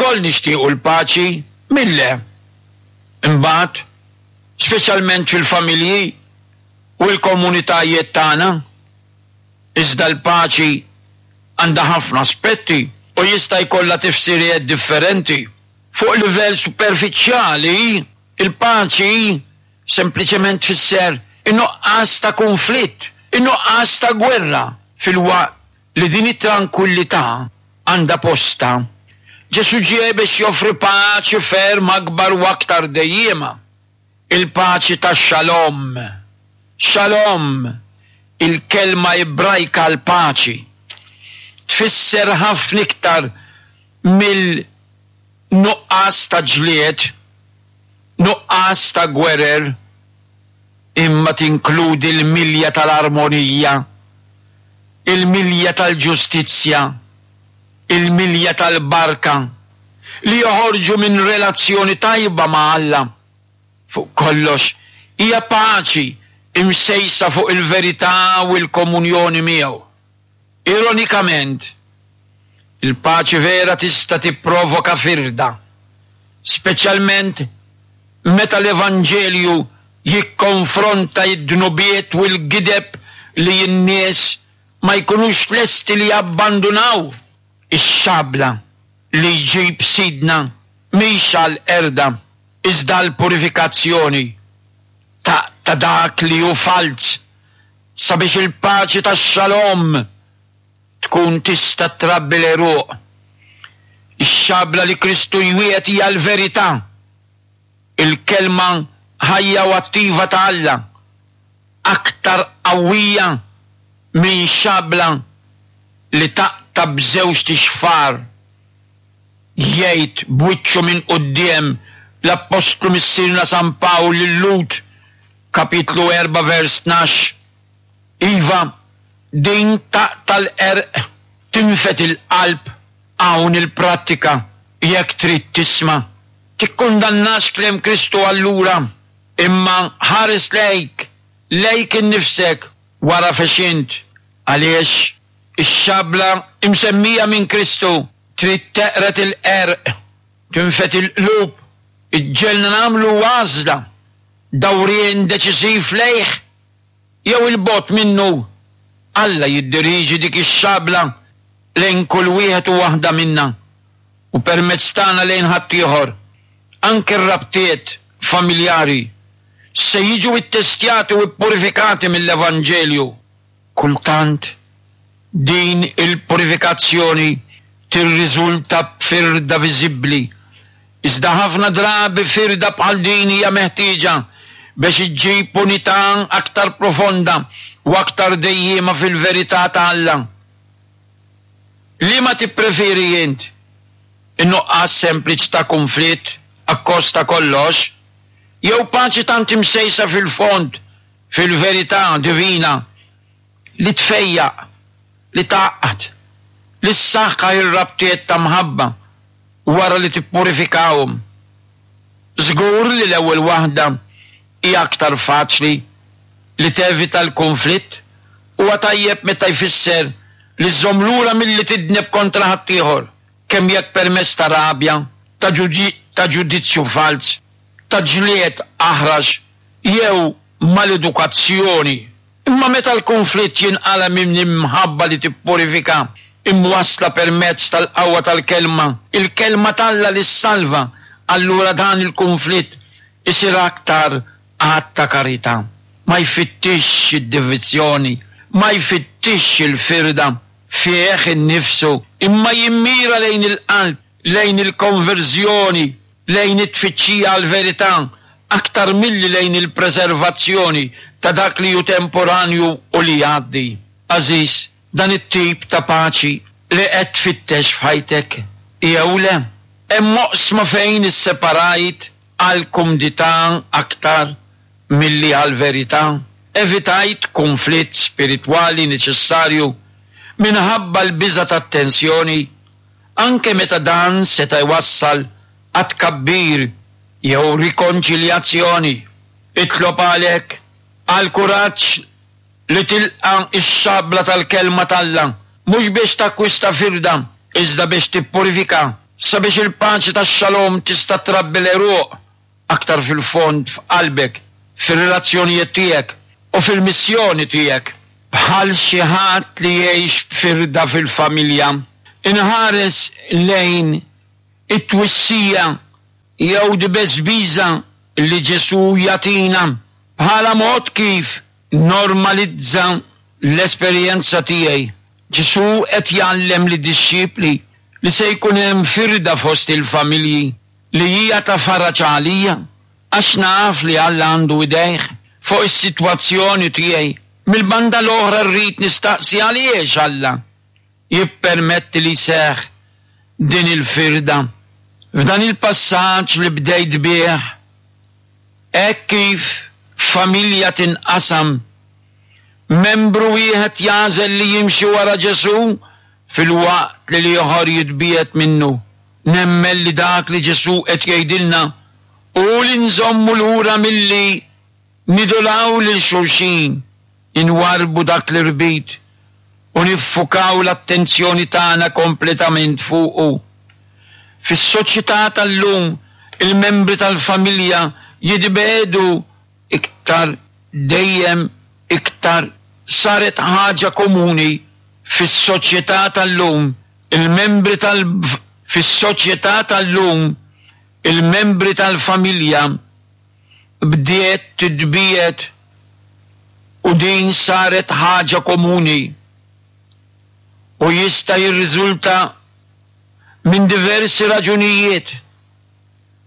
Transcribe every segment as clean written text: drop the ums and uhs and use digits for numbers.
Ilkoll nixtiequ l-paċi, min le? Imbagħad, speċjalment fil-familji u l-komunitajiet tagħna. Iżda l-paċi għandha ħafna aspetti u jista' jkollha tifsiriet differenti. Fuq livell superfiċjali, il-paċi sempliċement tfisser in-nuqqas ta' kunflitt, in-nuqqas ta' gwerra, filwaqt li din it-trankwillità għandha postha. Ġesù ġie biex joffri paċi ferm akbar u aktar dejjiema, il-paċi ta' Shalom. Shalom, il-kelma Ebrajka għall-paċi, tfisser ħafna iktar mill-nuqqas ta' ġlied, nuqqas ta' gwerer, imma tinkludi l-milja tal-armonija, il-milja tal-ġustizzja, il-milja tal-barka li joħorġu minn relazzjoni tajba ma' Alla. Fuq kollox, hija paċi imsejsa fuq il-verità u l-komunjoni miegħu. Ironikament, il-paċi vera tista' tipprovoka firda, speċjalment meta l-evanġelju jikkonfronta d-dnubiet u l-gideb li n-nies ma jkunux lesti li jabbandunaw. Ix-xabla li jġib Sidna mhix għall-qerda iżda għall-purifikazzjoni ta' ta' dak li hu falz sabiex il-paċi tax-Shalom tkun tista' trabbi l-għeruq. Ix-xabla li Kristu jwiegħed hija l-verità, il-Kelma ħajja u attiva ta' Alla, aktar qawwija minn xabla li taqta' b'żewġt ixfar, jgħid b'wiċċu minn quddiem l-Appostlu Missierna San Pawl lil-Lhud, kapitlu 4 vers 12. Iva, din taqta' l-qerq, tinfed il-qalb, hawn il-prattika, jekk trid tisma'. Tikkundannax kliem Kristu allura, imma ħares lejk, lejk innifsek, wara fex int, għaliex ix-xabla imsemmija minn Kristu trid teqred il-qerq, tinfed il-qlub, iġġegħelna nagħmlu għażla, dawrien deċiżiv lejh jew 'il bogħod minnu. Alla jiddirieġi dik ix-xabla lejn kull wieħed u waħda minna u permezz tagħna lejn ħaddieħor. Anki r-rabtiet familjari se jiġu ittestjati u ppurifikati mill-Evanġelju. Kultant, din il-purifikazzjoni tirriżulta b'firda viżibbli, iżda ħafna drabi firda bħal din hija meħtieġa biex iġġib unità aktar profonda u aktar dejjiema fil-verità ta' Alla. Liema tippreferi int? In-nuqqas sempliċi ta' kunflitt akkost ta' kollox, jew paċi tant imsejsa fil-fond fil-verità divina li tfejjaq, li tgħaqqad, li ssaħħaħ ir-rabtiet ta' mħabba wara li tippurifikahom. Żgur li l-ewwel waħda hi aktar faċli, li tevita l-kunflitt huwa tajjeb meta jfisser li żżomm lura milli tidneb kontra ħaddieħor, kemm jekk permezz ta' rabja, ta' ġudizzju falz, ta' ġlied aħrax jew maledukazzjoni. Imma meta l-kunflitt jinqala' minn imħabba li tippurifika, imwassla permezz tal-qawwa tal-Kelma, il-Kelma t'Alla li ssalva, allura dan il-kunflitt isir aktar att ta' karità. Ma jfittixx id-divizzjoni, ma jfittixx il-firda fih innifsu, imma jimmira lejn il-qalb, lejn il-konverżjoni, lejn it-tfittxija għall-verità aktar milli lejn il-preservazzjoni ta' dak li hu temporanju u li jgħaddi. Għażiż, dan it-tip ta' paċi li qed tfittex f'ħajtek, jew le? Hemm oqsma fejn isseparajt għall-kumdità aktar milli għall-verità? Evitajt kunflitt spiritwali neċessarju minħabba l-biża' tat-tensjoni? anke meta dan seta' jwassal għat-tkabbir jew rikonċiljazzjoni. Itlob għalhekk għall-kuraġġ li tilqa' x-xabla tal-Kelma t'Alla, mhux biex takkwista firda, iżda biex tippurifika. sabiex il-paċi tax-Shalom tista' trabbi l-għeruq aktar fil-fond f'qalbek, fir-relazzjonijiet tiegħek u fil-missjoni tiegħek. Bħal xi ħadd li jgħix b'firda fil-familja, inħares lejn it-twissija jew dibesbiża li Ġesù jagħtina bħala mod kif normalizza l-esperjenza tiegħi. Ġesù qed jgħallem lid-dixxipli li se jkun hemm firda fost il-familji, li hija ta' faraġ għalija, għax naf li Alla għandu idejh fuq is-sitwazzjoni tiegħi. Mill-banda l-oħra rrid nistaqsi għaliex Alla jippermetti li jseħħ din il-firda. F'dan il-passaġġ li bdejt bih, hekk kif familja tinqasam, membru wieħed jagħżel li jimxi wara Ġesù filwaqt li l-ieħor jitbiegħed minnu. Nemmen li dak li Ġesù qed jgħidilna hu li nżommu lura milli nidolaw lil xulxin, inwarrbu dak l-irbit u niffukaw l-attenzjoni tagħna kompletament fuqu. Fis-soċjetà tal-lum, il-membri tal-familja jitbiegħdu iktar dejjem iktar saret ħaġa komuni fis-soċjetà tal-lum, il-membri tal Fis-soċjetà tal-lum, il-membri tal-familja bdiet titbiegħed u din saret ħaġa komuni u jista' jirriżulta minn diversi raġunijiet.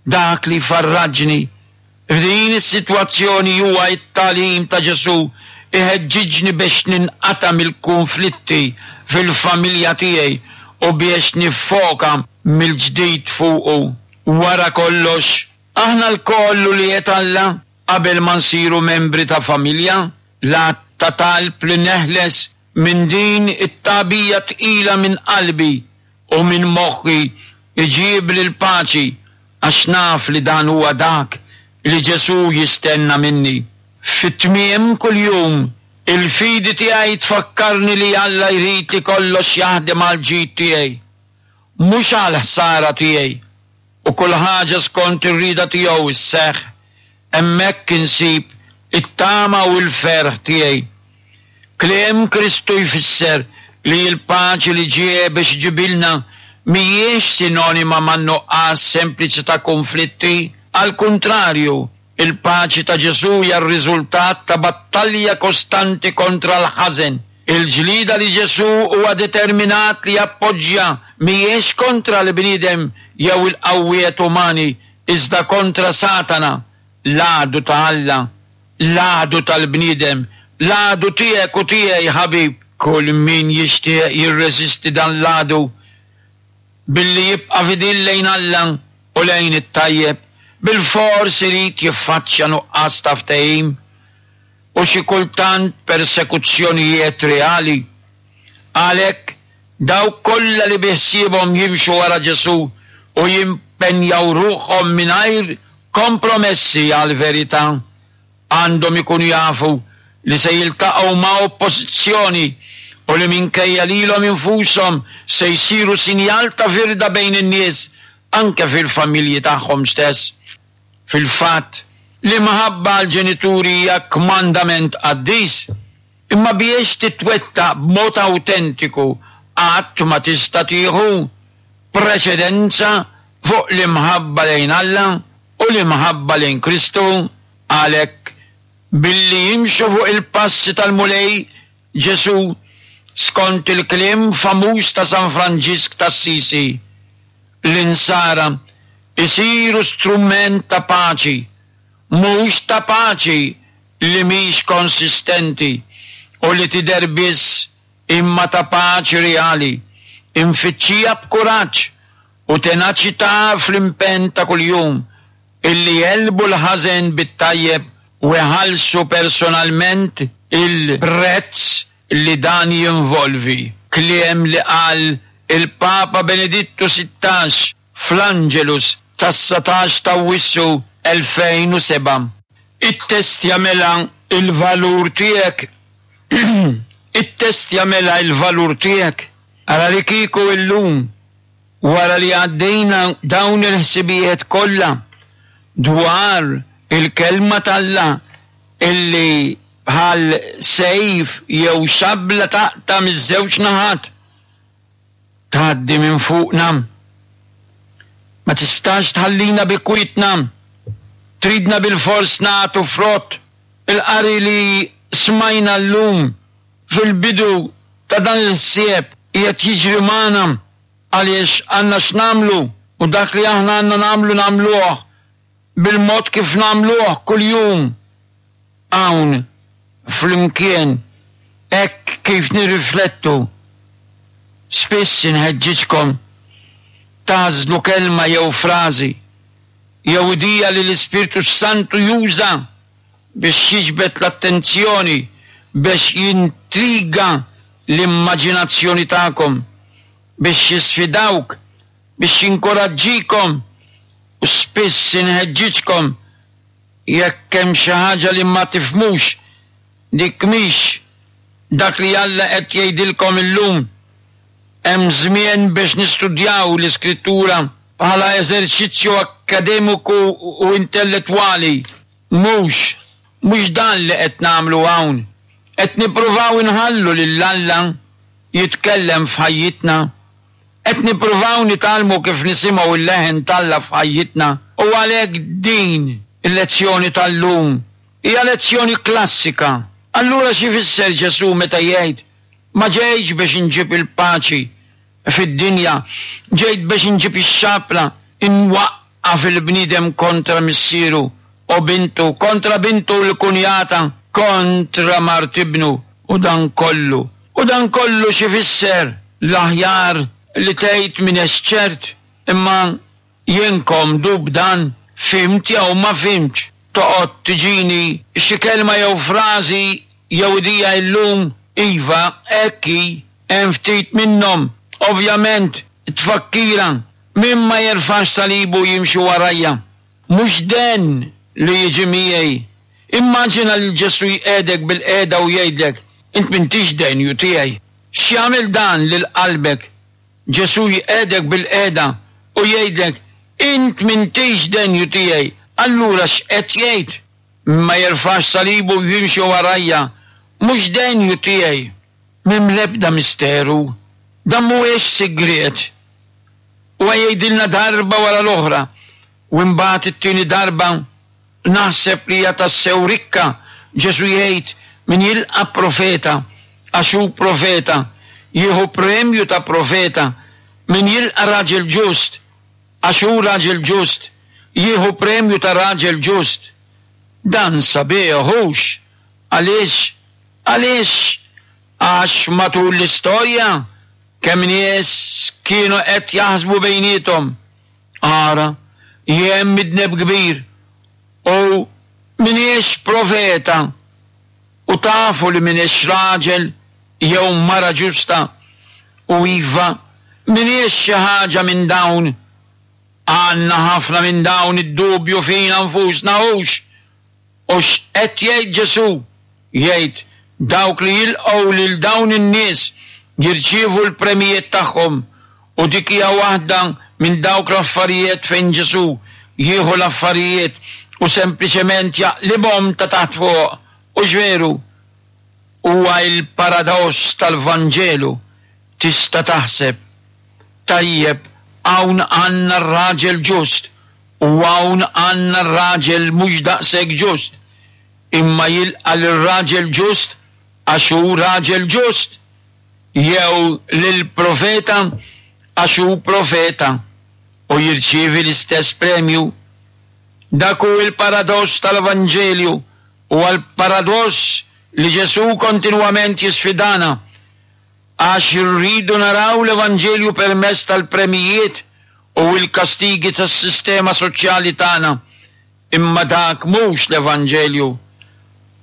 Dak li jfarraġni f'din is-sitwazzjoni huwa t-tagħlim ta' Ġesù iħeġġiġni biex ninqata' mill-kunflitti fil-familja tiegħi u biex niffoka mill-ġdid fuqu. Wara kollox, aħna lkoll ulied Alla qabel ma nsiru membri ta' familja. L-att ta' talb li neħles minn din it-tagħbija tqila minn qalbi u minn moħħi jġibli l-paċi għax naf li dan huwa dak li Ġesù jistenna minni. Fi tmiem kull jum, il-fidi tiegħi tfakkarni li Alla jrid li kollox jaħdem għall-ġid tiegħi, mhux għall-ħsara tiegħi, u kull ħaġa skont ir-rieda tiegħu sseħħ. Hemmhekk insib it-tama u l-ferħ tiegħi. Kliem Kristu jfisser li l-paċi li ġie biex iġibilna mhijiex sinonima man-nuqqas sempliċi ta' kunflitti. Għall-kuntrarju, il-paċi ta' Ġesù hija r-riżultat ta' battalja kostanti kontra l-ħażen. Il-ġlieda li Ġesù huwa determinat li jappoġġja mhijiex kontra l-bniedem jew il-qawwiet umani, iżda kontra Satana, l-għadu ta' Alla. L-għadu tal-bniedem, l-għadu tiegħek u tiegħi, ħabib. Kull min jixtieq jirreżisti dan l-għadu billi jibqa' fidil lejn Alla u lejn it-tajjeb, bilfors irid jiffaċċja nuqqas ta' ftehim u xi kultant persekuzzjonijiet reali. Għalhekk, dawk kollha li bi ħsiebhom jimxu wara Ġesù u jimpenjaw ruħhom mingħajr kompromessi għall-verità għandhom ikunu jafu li se jiltaqgħu ma' oppożizzjoni u li minkejja lilhom infushom se jsiru sinjal ta' firda bejn in-nies anke fil-familji tagħhom stess. Fil-fatt, l-imħabba għall-ġenituri hija kmandament qaddis, imma biex titwettaq b'mod awtentiku qatt ma tista' tieħu preċedenza fuq l-imħabba lejn Alla u l-imħabba lejn Kristu. Għalhekk, billi jimxu fuq il-passi tal-Mulej Ġesù, skont il-kliem famuż ta' San Franġisk t'Assisi, l-Insara jsiru strument ta' paċi, mhux ta' paċi li mhix konsistenti u li tidher biss imma ta' paċi reali, imfittxija b'kuraġġ u tenaċità fl-impenn ta' kuljum illi jegħlbu l-ħażen bit-tajjeb u jħallsu personalment il-prezz li dan jinvolvi, kliem li qal il-Papa Benedittu 16 fl-Angelus tas-19 t'Awwissu 2007. Ittestja mela l-valur tiegħek Ittestja mela l-valur tiegħek. Ara li kieku illum. Wara li għaddejna dawn il-ħsibijiet kollha dwar il-Kelma t'Alla illi bħal sejf jew xabla taqta' miż-żewġ naħat, tgħaddi minn fuqna. Ma tistax tħallina bi kwietna. Tridna bilfors nagħtu frott. Il-qari li smajna llum fil-bidu ta' dan il-ħsieb qiegħed jiġri magħna għaliex għandna x'nagħmlu u dak li aħna għandna nagħmlu nagħmluh bil-mod kif nagħmluh kuljum hawn flimkien hekk kif nirriflettu. Spiss inħeġġiġkom tagħżlu kelma jew frażi jew idea li l-Ispirtu s-Santu juża biex jiġbed l-attenzjoni, biex jintriga l-immaġinazzjoni tagħkom, biex jisfidawk, biex jinkoraġġikom u spiss inħeġġiġkom jekk hemm xi ħaġa li ma tifhmux, dik mhix dak li Alla qed jgħidilkom illum. Hemm żmien biex nistudjaw l-Iskrittura bħala eżerċizzju akkademiku u intellettwali. Mhux, mhux dan li qed nagħmlu hawn. Qed nippruvaw inħallu lil Alla jitkellem f'ħajjitna. Qed nippruvaw nitgħallmu kif nisimgħu l-leħen t'Alla f'ħajjitna u għalhekk din il-lezzjoni tal-lum hija lezzjoni klassika. Allura x'ifisser Ġesù meta jgħid, Ma ġejtx biex inġib il-paċi fid-dinja, ġejt biex inġib ix-xabla, inwaqqaf il-bniedem kontra missieru u bintu, kontra bintu u l-kunjata, kontra mart ibnu, u dan kollu. U dan kollu x'ifisser? L-aħjar li tgħid m'inex ċert, imma jien komdu b'dan, fhimt jew ma fhimtx. Toqgħod tiġini xi kelma jew frażi jew idea illum, iva, hekk hi, hemm ftit minnhom, ovvjament, tfakkira, min ma jerfax salibu jimxi warajja. Mhux den li jiġi miegħi. Immaġina lil Ġesù jqiegħdek bilqiegħda u jgħidlek, Int m'intix denju tiegħi. X'jagħmel dan lil qalbek? Ġesù jqiegħdek bilqiegħda u jgħidlek, Int m'intix denju tiegħi. Allura x'qed jgħid? Min ma jerfax salibu u jimxi warajja, mhux denju tiegħi. M'hemm l-ebda misteru. Dan mhuwiex sigriet. Huwa jgħidilna darba wara l-oħra, u imbagħad it-tieni darba naħseb li hija tassew rikka, Ġesù jgħid, min jilqa' profeta għax hu profeta, jieħu premju ta' profeta, min jilqa' raġel ġust għax hu raġel ġust, jieħu premju ta' raġel ġust. Dan sabiħ, hux? Għaliex? Għaliex? Għax matul l-istorja kemm nies kienu qed jaħsbu bejniethom, Ara, jien midneb kbir u m'iniex profeta, u tafu li m'iniex raġel jew mara ġusta, u iva, m'iniex xi ħaġa minn dawn. Għandna ħafna minn dawn id-dubju fina nfusna, hux? U x'qed jgħid Ġesù? Jgħid, Dawk li jilqgħu lil dawn in-nies jirċievu l-premjijiet tagħhom. U dik hija waħda minn dawk l-affarijiet fejn Ġesù jieħu l-affarijiet u sempliċement jaqlibhom ta' taħt fuq. Hux veru? Huwa l-paradoss tal-Vanġelu. Tista' taħseb, Tajjeb, hawn għandna r-raġel ġust U hawn għandna r-raġel mhux daqshekk ġust, imma jilqa' lir-raġel ġust għax hu raġel ġust, jew lill-profeta għax hu profeta, u jirċievi l-istess premju. Dak hu l-paradoss tal-Evanġelju, huwa l-paradoss li Ġesù kontinwament jisfidana. Għax irridu naraw l-Evanġelju permezz tal-premjijiet u l-kastigi tas-sistema soċjali tagħna, imma dak mhux l-Evanġelju.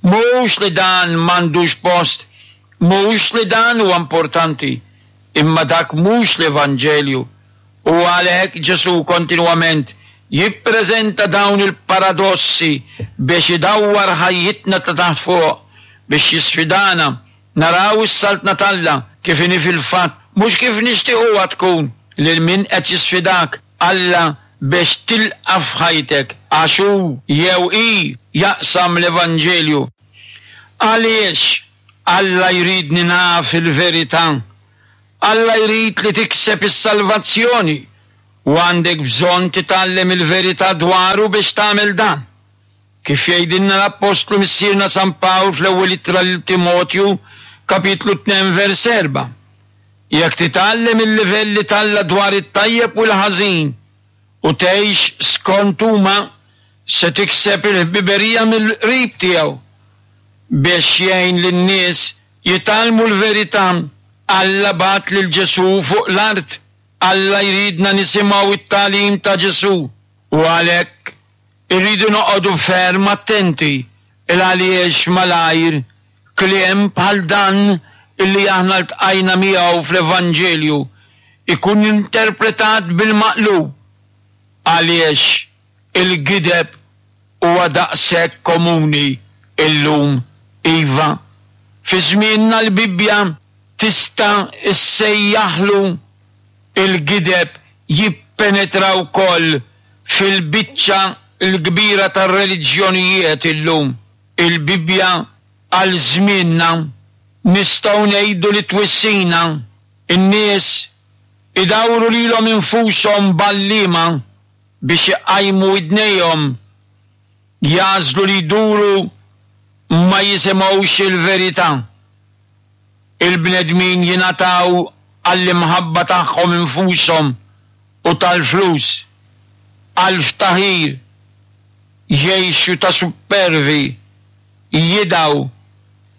Mhux li dan m'għandux post, mhux li dan huwa importanti, imma dak mhux l-Evanġelju. U għalhekk Ġesù kontinwament jippreżenta dawn il-paradossi biex idawwar ħajjitna ta' taħt fuq, biex jisfidana Naraw is-Saltna t'Alla kif inhi fil-fatt, mhux kif nixtiequha tkun. Lil min qed jisfidak Alla biex tilqa' f'ħajtek għax hu jew hi jaqsam l-evanġelju? Għaliex Alla jridni naf il-verità? Alla jrid li tikseb is-salvazzjoni u għandek bżonn titgħallem il-verità dwaru biex tagħmel dan. Kif jgħidilna l-Appostlu Missierna San Pawl fl-Ewwel Ittra lil Timotju, kapitlu 2 vers 4, Jekk titgħallem il-livelli t'Alla dwar it-tajjeb u l-ħażin u tgħix skont huma, se tikseb il-ħbiberija mill-qrib tiegħu. Biex jgħin lin-nies jitgħallmu l-verità, Alla bagħat lil Ġesù fuq l-art. Alla jridna nisimgħu t-tagħlim ta' Ġesù, u għalhekk irridu noqogħdu ferm attenti 'l għaliex malajr kliem bħal dan illi aħna ltqajna miegħu fl-Evanġelju jkun interpretat bil-maqlub għaliex il-gideb huwa daqshekk komuni illum. Iva, fi żmienna l-Bibbja tista' ssejjaħlu il-gideb jippenetra wkoll fil-biċċa l-kbira tar-reliġjonijiet illum. Il-Bibbja għal żmienna nistgħu ngħidu li twissina. In-nies idawru lilhom infushom b'għalliema biex iqajmu widnejhom, jagħżlu li jduru ma jisimgħux il-verità. Il-bnedmin jingħataw għall-imħabba tagħhom infushom u tal-flus, għall-ftaħir, jgħixu ta' suppervi, jidgħu,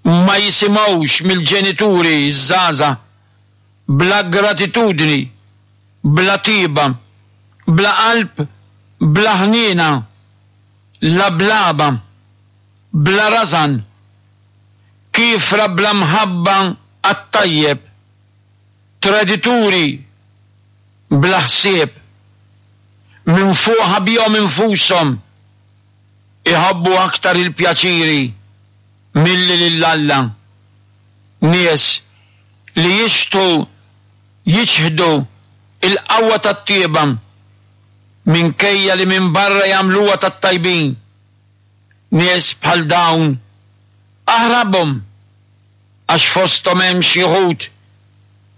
ma jisimgħux mill-ġenituri ż-żgħażagħ, bla gratitudni, bla tieba, bla qalb, bla ħniena, lablaba, bla rażan, kiefra bla mħabba għat-tajjeb, tradituri bla ħsieb, minfuħa bihom infushom, iħobbu aktar il-pjaċiri milli lil Alla, nies li jixtħu jiċħdu l-qawwa tat-tjieba minkejja li minn barra jagħmluha tat-tajbin. Nies bħal dawn aħrabhom għax fosthom hemm xi wħud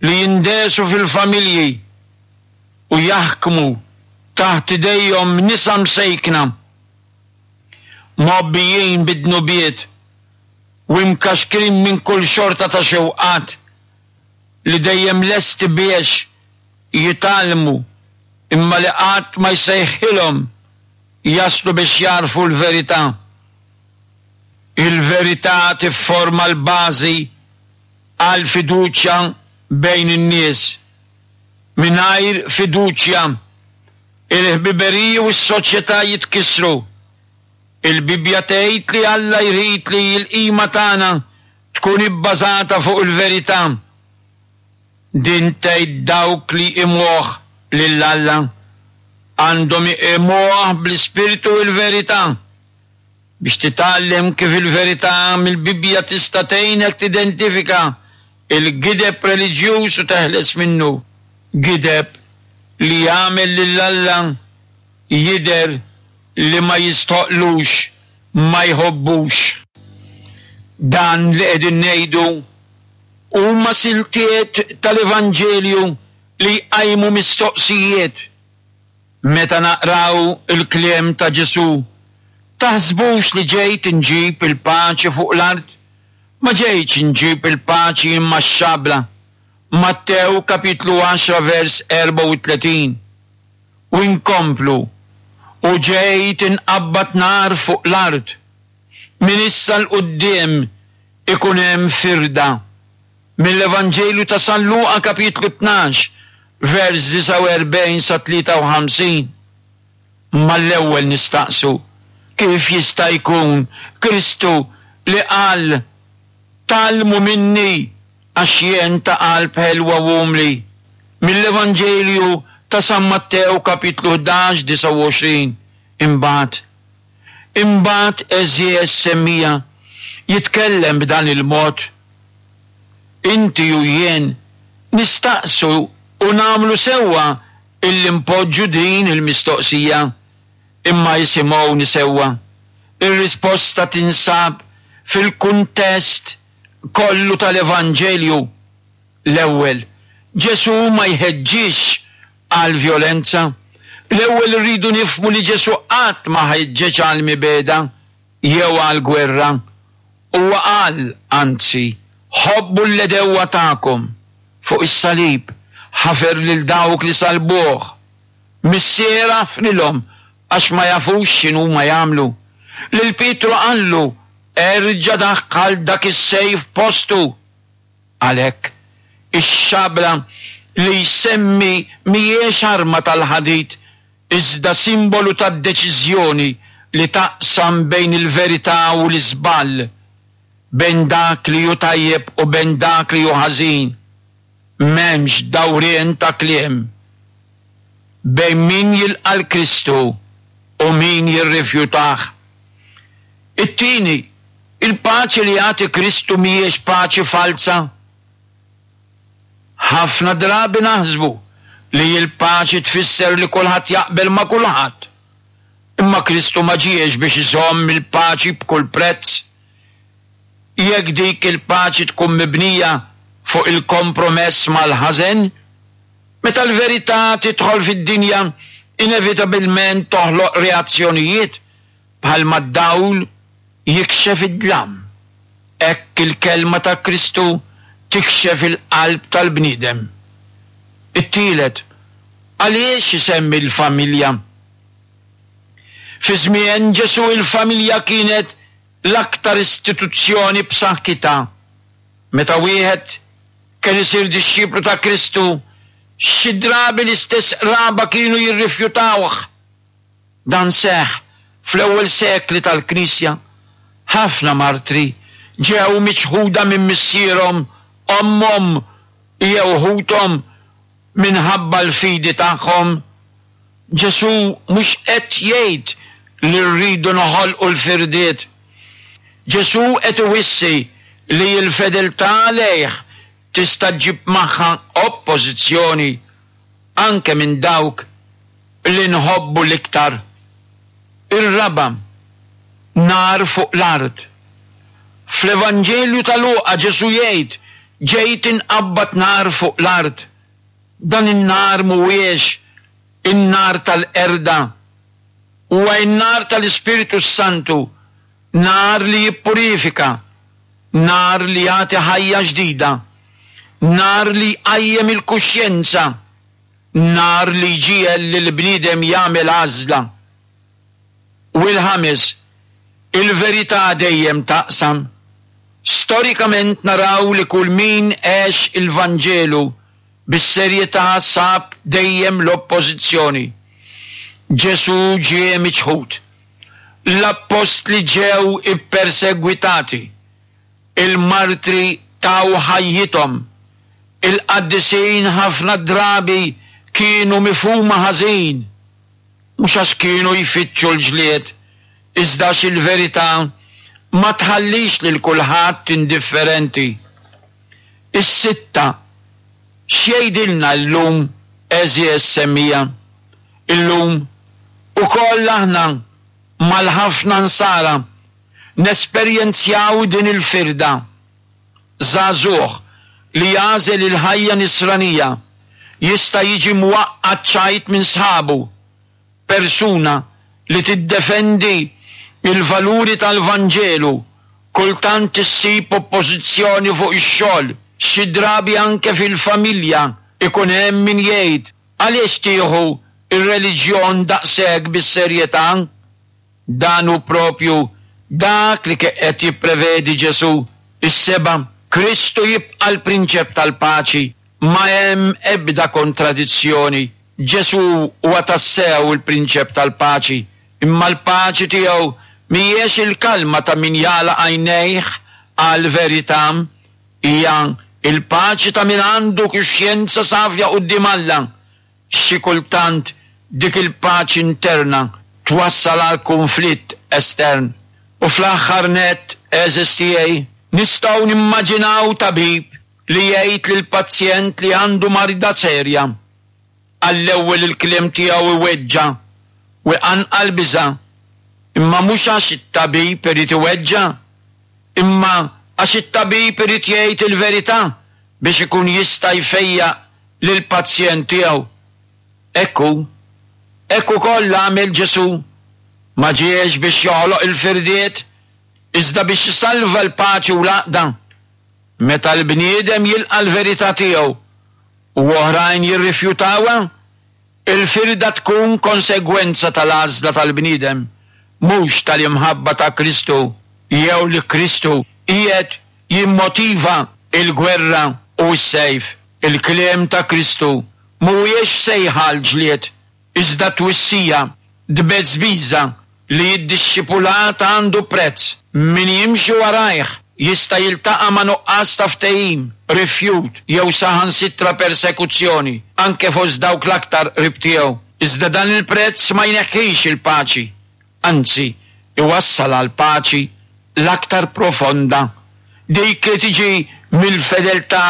li jindegħsu fil-familji u jaħkmu taħt idejhom nisa msejkna, mgħobbijin bid-dnubiet u imkaxkrin minn kull xorta ta' xewqat li dejjem lesti biex jitgħallmu imma li qatt ma jsejħilhom jaslu biex jagħrfu l-verità. Il-verità tifforma l-bażi għall-fiduċja bejn in-nies. Mingħajr fiduċja, il-ħbiberiji u s-soċjetà jitkissru. Il-Bibbja tgħid li Alla jrid li l-qima tagħna tkun ibbażata fuq il-verità. Din tgħid dawk li jqimuh lil Alla għandhom iqimuh bl-ispirtu u l-verità. Biex titgħallem kif il-verità mill-Bibbja tista' tgħinek tidentifika l-gideb reliġjuż u teħles minnu, gideb li jagħmel lil Alla jidher li ma jistħoqqlux, ma jħobbux. Dan li qegħdin ngħidu huma siltiet tal-Evanġelju li jqajmu mistoqsijiet. Meta naqraw il-kliem ta' Ġesù, Taħsbux li ġejt inġib il-paċi fuq l-art? Ma ġejtx inġib il-paċi imma x-xabla. Mattew kapitlu 10 vers 34. U nkomplu, U ġejt inqabbad nar fuq l-art. Minn issa 'l quddiem ikun hemm firda. Mill-Evanġelju ta' San Luqa kapitlu 12 vers 49 sa 53. Mal-ewwel nistaqsu, kif jista' jkun Kristu li qal, Tgħallmu minni għax jien ta' qalb ħelwa u umli? Mill-Evanġelju ta' San Mattew kapitlu 11 29. Imbagħad, imbagħad għeżież semmiegħa, jitkellem b'dan il-mod. Inti u jien nistaqsu. U nagħmlu sewwa illi npoġġu din il-mistoqsija. Imma isimgħuni sewwa, ir-risposta tinsab fil-kuntest kollu tal-Evanġelju. L-ewwel, Ġesù ma jħeġġiġx għall-vjolenza. L-ewwel irridu nifhmu li Ġesù qatt ma ħeġġeġ għall-mibegħda jew għall-gwerra. Huwa qal, anzi, Ħobbu l-għedewwa tagħkom. Fuq is-salib, ħafer lil dawk li sallbuh. Missier aħfrilhom għax ma jafux x'inhuma jagħmlu. Lil Pietru qallu, Erġa' daħħal dak is-sejf f'postu. Għalhekk, ix-xabla li jsemmi mhijiex arma tal-ħadid iżda simbolu tad-deċiżjoni li taqsam bejn il-verità u l-iżball, bejn dak li hu tajjeb u bejn dak li hu ħażin. M'hemmx dawrien ta' kliem bejn min jilqa' 'l Kristu u min jirrifjutah. It-tieni, il-paċi li jagħti Kristu mhijiex paċi falza. Ħafna drabi naħsbu li l-paċi tfisser li kulħadd jaqbel ma' kulħadd. Imma Kristu ma ġiex biex iżomm il-paċi b'kull prezz. Jekk dik il-paċi tkun mibnija fuq il-kompromess mal-ħażen, meta l-verità tidħol fid-dinja inevitabilment toħloq reazzjonijiet bħalma d-dawl jikxef id-dlam, hekk il-kelma ta' Kristu tikxef il-qalb tal-bniedem. It-tielet, għaliex isemmi l-familja? Fi żmien Ġesù il-familja kienet l-aktar istituzzjoni b'saħħitha. Meta wieħed kien isir dixxiplu ta' Kristu, xi drabi l-istess qraba kienu jirrifjutawh. Dan seħħ fl-ewwel sekli tal-Knisja. Ħafna martri ġew miċħuda minn missierhom, ommhom, jew ħuthom minħabba l-fidi tagħhom. Ġesù mhux qed jgħid li rridu noħolqu l-firdiet. Ġesù qed iwissi li l-fedeltà lejh tista' ġġib magħha oppożizzjoni, anke minn dawk li nħobbu l-iktar. Ir-raba' nar fuq l-art. Fl-Evanġelju ta' Luqa Ġesù jgħid, Ġejt inqabbad nar fuq l-art. Dan in-nar mhuwiex in-nar tal-qerda. Huwa n-nar tal-Ispirtu s-Santu, nar li jippurifika, nar li jagħti ħajja ġdida, nar li jqajjem il-kuxjenza, nar li jġiegħel lill-bniedem jagħmel għażla. U l-ħames, il-verità dejjem taqsam. Storikament naraw li kull min għex il-Vanġelu bis-serjetà sab dejjem l-oppożizzjoni. Ġesù ġie miċħud. L-appostli ġew ippersegwitati. Il-martri taw ħajjithom. Il-qaddisin ħafna drabi kienu mifhuma ħażin, mhux għax kienu jfittxu l-ġlied, iżda għax il-verità ma tħallix lil kulħadd indifferenti. Is-sitta, x'jgħidilna llum għeżież semmiegħa? Illum ukoll aħna mal-ħafna Nsara nesperjenzjaw din il-firda. Żagħżugħ li jagħżel il-ħajja Nisranija jista' jiġi mwaqqa' ċ-ċajt minn sħabu. Persuna li tiddefendi l-valuri tal-Vanġelu kultant issib oppożizzjoni fuq ix-xogħol, xi drabi anke fil-familja ikun hemm min jgħid għaliex tieħu r-reliġjon daqshekk bis-serjetà? Dan hu proprju dak li kien qed jipprevedi Ġesù. Is-seba', Kristu jibqa' l-Prinċep tal-Paċi. Ma hemm ebda kontradizzjoni. Ġesù huwa tassew il-Prinċep tal-Paċi, imma l-paċi tiegħu mhijiex il-kalma ta' min jagħlaq għajnejh għall-verità. Hija l-paċi ta' min għandu kuxjenza safja quddiem Alla. Xi kultant dik il-paċi interna twassal għal kunflitt estern. U fl-aħħar nett, għeżież tiegħi, nistgħu nimmaġinaw tabib. li jgħid lil pazjent li għandu marda serja. Għall-ewwel il-kliem tiegħu iweġġa' u jqanqal biża', imma mhux għax it-tabib irid iweġġa', imma għax it-tabib irid jgħid il-verità biex ikun jista' jfejjaq lill-pazjent tiegħu. Hekk hu. Hekk ukoll għamel Ġesù. Ma ġiex biex joħloq il-firdiet, iżda biex isalva l-paċi u l-għaqda. Meta l-bniedem jilqa' l-verità tiegħu u oħrajn jirrifjutawha, il-firda tkun konsegwenza tal-għażla tal-bniedem, mhux tal-imħabba ta' Kristu jew li Kristu qiegħed jimmotiva l-gwerra u s-sejf. Il-kliem ta' Kristu mhuwiex sejħa għall-ġlied, iżda twissija, tbeżbiża li d-dixxipulat għandu prezz. Min jimxi warajh jista' jiltaqa' ma' nuqqas ta' ftehim, rifjut jew saħansitra persekuzzjoni, anke fost dawk l-aktar qrib tiegħu. Iżda dan il-prezz ma jneħħix il-paċi, anzi, iwassal għall-paċi l-aktar profonda, dik li tiġi mill-fedeltà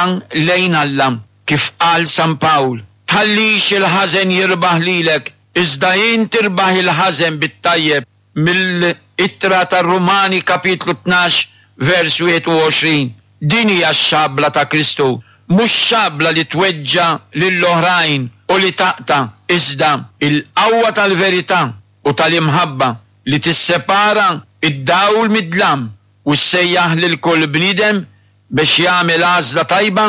lejn Alla. Kif qal San Pawl, Tħallix il-ħażen jirbaħ lilek, iżda int irbaħ il-ħażen bit-tajjeb, mill-Ittra tar-Rumani kapitlu 12 vers 21. Din hija x-xabla ta' Kristu, mhux xabla li tweġġa' lill-oħrajn u li taqta', iżda l-qawwa tal-verità u tal-imħabba li tissepara d-dawl mid-dlam u ssejjaħ lil kull bniedem biex jagħmel għażla tajba,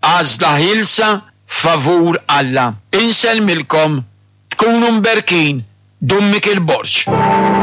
għażla ħielsa favur Alla. Insellmilkom, tkunu mberkin, Dun Mikiel Borg.